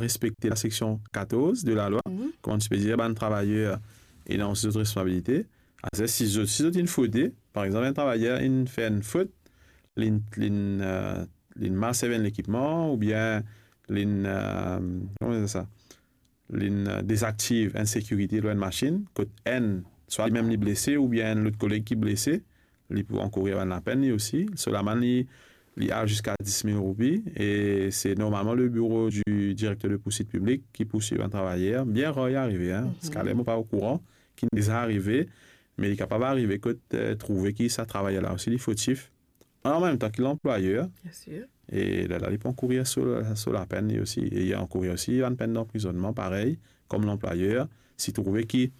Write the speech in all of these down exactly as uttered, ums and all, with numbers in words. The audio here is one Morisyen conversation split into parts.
respekte laseksion katorz de lalwa, Mhm. kouma ti pe dir, bann travayer ena osi zot responsabilite. Aster, si zot, si zot inn fode, par exanp, enn travayer inn fer enn fot, linn, linn, eh, linn mal servi enn lekipman, oubien linn, eh, kouma dir sa? Linn, eh, dezaktiv enn sekirite lor enn masinn, kot enn, swa li mem li blese, oubien enn lot koleg ki blese, li pou ankourir bann lapenn li osi. So lamann li, li al ziska dis mil roupi, e se normalman le bureau du directeur de poursuite publique ki pou swiv bann travayer. Bien rar li arive, hein. Mhm. Ziska la mo pa okouran ki deza arive, me li kapav arive kot, eh, trouve ki sa travayer la osi li fotif. An mem tan ki lanplwayer, Bien sûr. e lerla li pou ankourir so, so lapenn li osi, e li ankourir osi bann penn danprizonnman parey, kom lanplwayer, si trouve ki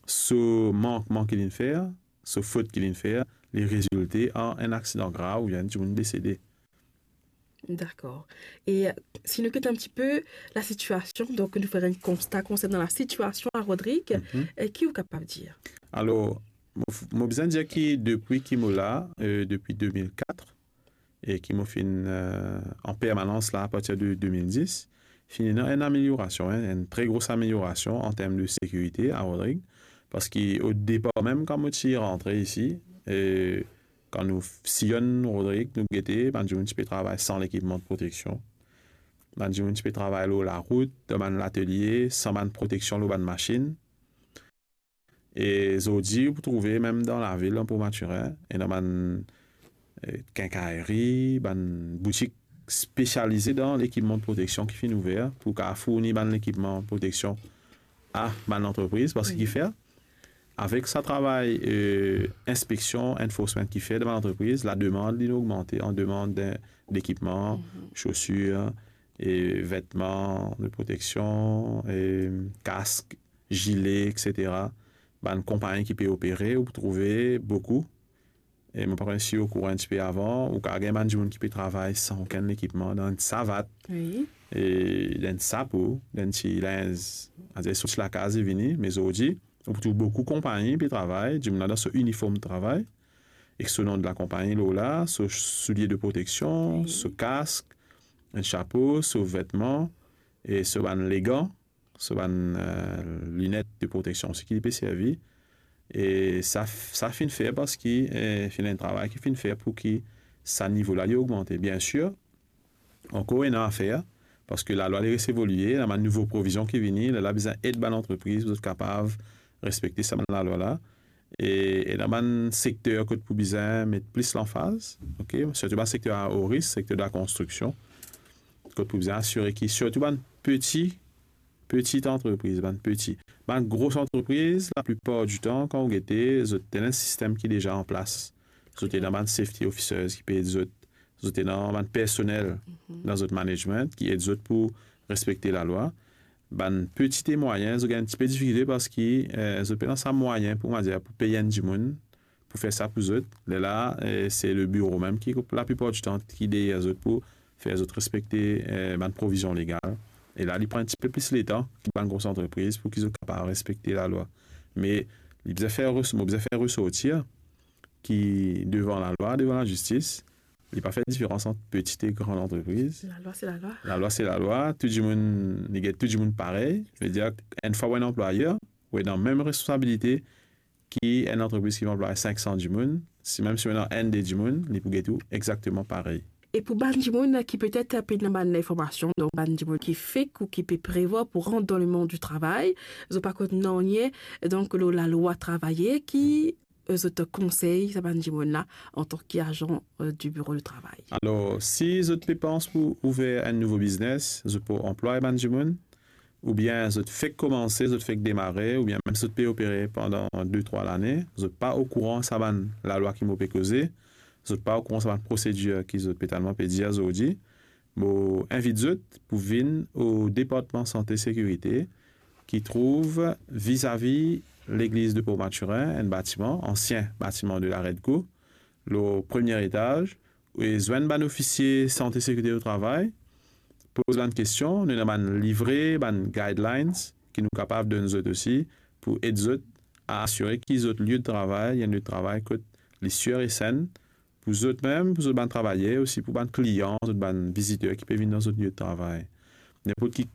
so mankman ki linn fer, so fot ki linn fer, li rezilte an enn aksidan grav oubien enn dimoun desede. Dakor. E, eh, si nou kit enn tipe lasitiasion, donk nou fer enn konsta konsernan lasitiasion a Rodrig, Mhm. eh, ki ou kapav dir? Alor, mo f-, mo bizin dir ki depi ki mo la, eh, depi de mil kat, e ki mo finn, eh, an permanans la apartir de de mil dis, finn ena enn ameliorasion, hein, enn tre gro ameliorasion an term de sekirite a Rodrig, parski o depar mem, kan mo ti rantre isi, e kan nou f-, siy Rodrig, nou gete, bann dimoun ti pe travay san lekipman de proteksion. Bann dimoun ti pe travay lor larout, dan bann latelie, san bann proteksion lor bann masinn. E zordi, ou pou trouve mem dan lavil, dan Port Mathurin, ena bann, eh, kenkaleri, bann boutik spesialize dan lekipman de proteksion ki finn ouver pou kapav fourni bann lekipman proteksion a bann lantrepriz, parski Wi. ki fer, avek sa travay, eh, inspeksion, enforcement ki fer dan bann lantrepriz, lademann li ogmante an demann de, lekipman, Mhm. sosir, e vetman de proteksion, e kask, zile, et cetera. Bann konpagni ki pe opere, ou pou trouve boukou. E mo pa konn si ou okouran enn tipe avan, ou kapav gagn bann dimoun ki pe travay san okenn lekipman, dan enn savat, Wi. e dan enn sapo, dan enn ti linz, adir sorti lakaz e vini, me zordi, ou pou trouv boukou konpagni pe travay, dimoun la dan so iniform travay, ek so nom de lakonpagni lor la, so soulie de proteksion, Wi. so kask, enn sapo, so vetman, e so bann legan, so bann, eh, linet de proteksion osi ki li pe servi. E sa f-, sa finn fer parski, eh, finn enn travay ki finn fer pou ki sa nivo la li ogmante. Biensir, ankor ena a fer, parski lalwa li res evolie, ena bann nouvo provizion ki vini, lerla bizin ed bann lantrepriz pou zot kapav respekte sa bann lalwa la. E, e ena bann sekter kot pou bizin met plis lanfaz, ok? Sirtou bann sekter a o risk, sekter de lakonstriksion, kot pou bizin asire ki sirtou bann peti, peti antrepriz, bann peti. Bann gro antrepriz, laplipar ditan, kan ou gete, zot ena enn sistem ki deza an plas. Zot ena bann safety officers ki pe ed zot. Zot ena bann personel Mhm. dan zot management ki ed zot pou respekte lalwa. Bann peti e mwayin, zot gagn enn tipe difikilte parski, eh, zot pena sa mwayin pou, on va dire, pou pey enn dimoun pou fer sa pou zot. Lerla, eh, se le biro mem ki, laplipar ditan, ki deryer zot pou fer zot respekte, eh, bann provizion legal. E la, li pran enn tipe plis letan ki bann gro antrepriz pou ki zot kapav respekte lalwa. Me li bizin fer res-, mo bizin fer resortir ki devan lalwa, devan lazistis, li pa fer diferans ant peti e gran antrepriz. Lalwa, se lalwa. Lalwa, se lalwa. Tou dimoun, li get tou dimoun parey. Vedir, enn fwa ou enn anplwayer, ou ena mem responsabilite ki enn antrepriz ki pou anplway sink san dimoun. Si mem si ou ena enn de dimoun, li pou get ou exakteman parey. E pou bann dimoun ki petet pena bann linformasion, donk bann dimoun ki fek ou ki pe prevwar pou rant dan lemond di travay, zot pa konn nanye, donk, lor lalwa travayer, ki, eh, zot konsey sa bann dimoun la antan ki azan, eh, di biro de travay? Alor, si zot pe pans pou ouver enn nouvo biznes, zot pou anplway bann dimoun, oubien zot fek koumanse, zot fek demare, oubien mem zot pe opere pandan de, trwa lane, zot pa okouran sa bann lalwa ki mo pe koze, zot pa okouran sa bann prosedir ki zot pe talman pe dir zordi, mo invit zot pou vinn o Departman Sante Sekirite, ki trouv vizavi legliz de Port Mathurin, enn batiman, ansien batiman de la Redco, lor premie etaz, e zwenn bann ofisie sante sekirite o travay, poz bann kestion, nou ena bann livre, bann guidelines ki nou kapav donn zot osi pou ed zot a asire ki zot lie de travay, enn lie de travay kot li sir e senn, pou zot mem, pou zot bann travayer, osi pou bann klian, zot bann viziter ki pe vinn dan zot lie de travay. Ninport ki, ki,